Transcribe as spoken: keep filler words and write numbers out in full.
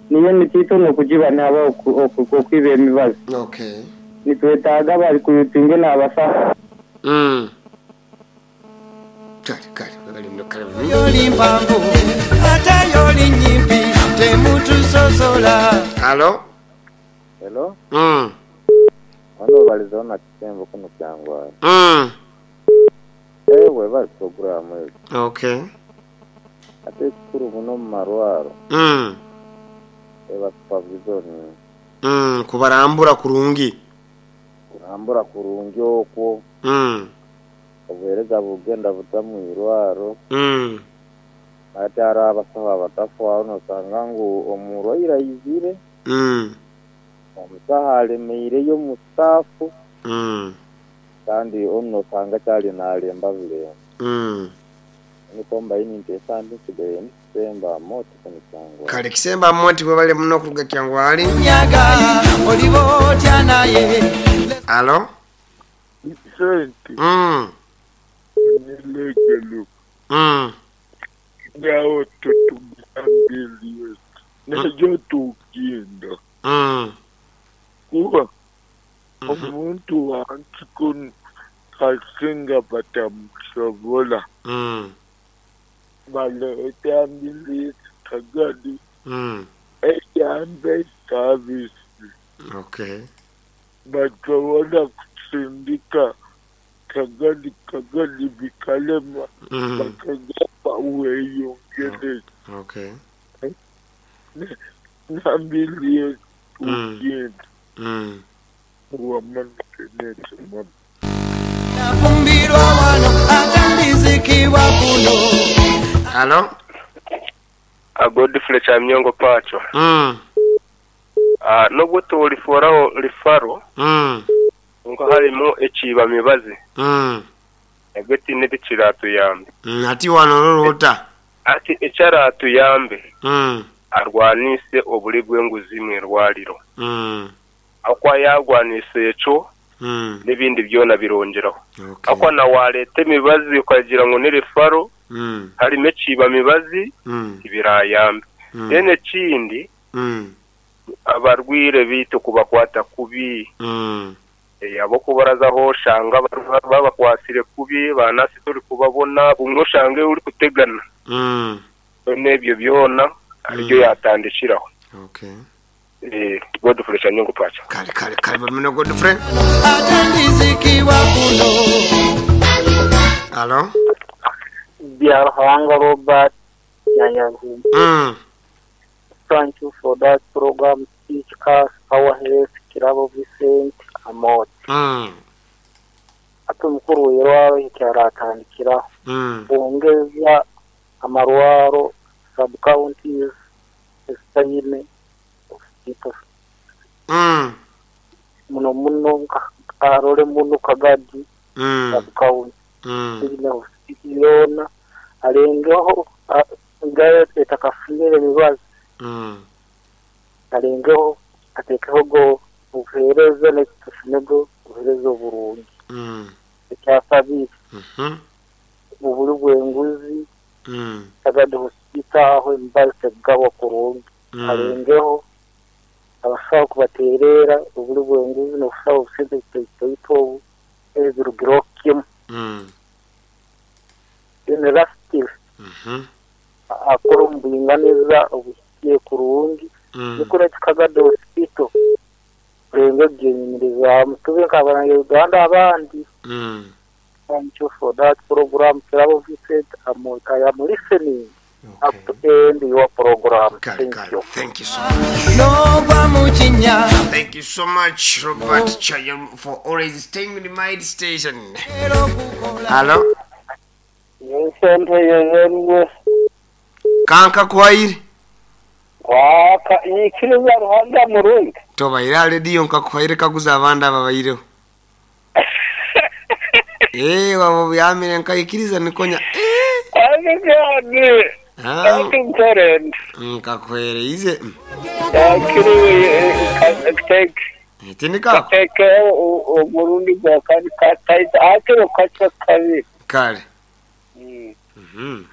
Niyo emiti nokugiba nihaba okwiba emibazi. Okay. Nitwetaaga bari kuyutinge n'abasaho. Mm. Kale kale bali muno kale. Yoli mpanvu ate yoli nyimpi temutusosola. Halo. Hello, Mm. wano balizaho na kisembo kuno kyangwara. Mm. Ewe bali programu ezo. Okay. Ate ekikuru muno mu marwaro Mm. eba supervision Mm, kubarambura kurungi. kurambura kurungi okwo Mm. obuheereza bugenda buta mu irwaro Mm. ate hariho abasaho abatafaaho nosanga ngu omurwaire aizire Mm. omusaho alemeireyo omu staafu Mm. kandi onu nosanga kyali nalemba bulemba Mm. niko mbaine nteesa ndi nsigaire ndikisemba moti kuno kyangwara. Kale kisemba moti bwebale muno okuruga kyangwali. Nyaga oliba otya naye. Halo. Sente Mm. nilegelo Mm. ngawo tutugambiriye nejo tugenda Mm. kuba omuntu wansi kuno kasinga batamusobola Mm. baleeta ambulensi kagadi Mm. eyambe service Okay. basobola kusindika kagadi kagadi bikalema Mm. bakagamba weeyongere Okay. nambiliye Mm. tugenda Mm. wamankenetema Nafumbirwa wano ate ndizikibwa kuno. Halo. Godfrey Kyamyongo Pacho. Mm. Ah, nubwo tuliforaho rifaro Mm. nko harimu ekiiba mibazi Mm. ebyo tinebikiratuyambe Mm. Ati wano lolota. ati ekyaratuyambe Mm. arwanise obuli bw'enguzi mu irwariro Mm. akwa yagwanise ekyo Mm. n'ibindi byona birongeraho Okay. akwa na wareta emibazi ukagira ngo ni rifaro Mm. harimo ekiiba mibazi Mm. tibirayambe Mm. then ekindi Mm. abarwire bitu kubakwata kubi Mm. Eh, abo kubarazaho oshanga barwa- babakwasire kubi banasi turi kubabona bumwe oshange uri kutegana Mm. n'ebyo byona aribyo Mm. yatandikiraho Okay. Eh, Godfrey Kyanyongo Pacho. Kale kale kale bamino Godfrey. Ate ndizikibwa kuno. Halo. Byaruhanga Robert Nyanyazi. Mm. Thank you for that program. Teach us our health. Kirabo Vincent Amot. Mm. Ate omukuru w'irwaro ekyaratandikiraho Mm. bongeza amarwaro sub counties ezitaine hospital Mm. muno muno nka Karole muno Kagadi Mm. sub county Mm. ine hospital yoona alengeho a- ngayo etakafunire emibazi Mm. alengeho atekeho go obuheereza nekitufunego obuheereza oburungi Mm. ekyakabiri Mhm. obuli bw'enguzi Mm. Kagadi hospital aho emibazi tegabwa kurungi Mm. alengeho abasawo kubateerera obuli bw'enguzi n'obusawo obusente butaitoito obu ebirugireho kimu Mm. then lastly Mhm. akora omu bwinganiza obuhikire kurungi Mm. nikwo neti Kagadi hospital renge gyenyumirizaamu tube nk'abanya-Uganda abandi. Mm. Thank you for that program. Kirabo Vincent Amot. I am listening up Okay. to end your program. Kale Thank kale. you. Thank you so much. N'ogwa mu kinnya. Thank you so much, Robert Chayam, for always staying with my station. Era okukola. Hello. Sente yezenwe Kanka kwaire. waka nyikiriza Ruhanga murungi. Tobaire already nkakuhaire kaguza abandi ababaireho. Eh, wabo byamire nkaikiriza nikonya. Eh. Abigani Ah, akinkorende nkakuhereize. yakiriwe tek Tindika. kateke omurundi gwa kani kataita akiro kacha kabiri. Kale. Mhm.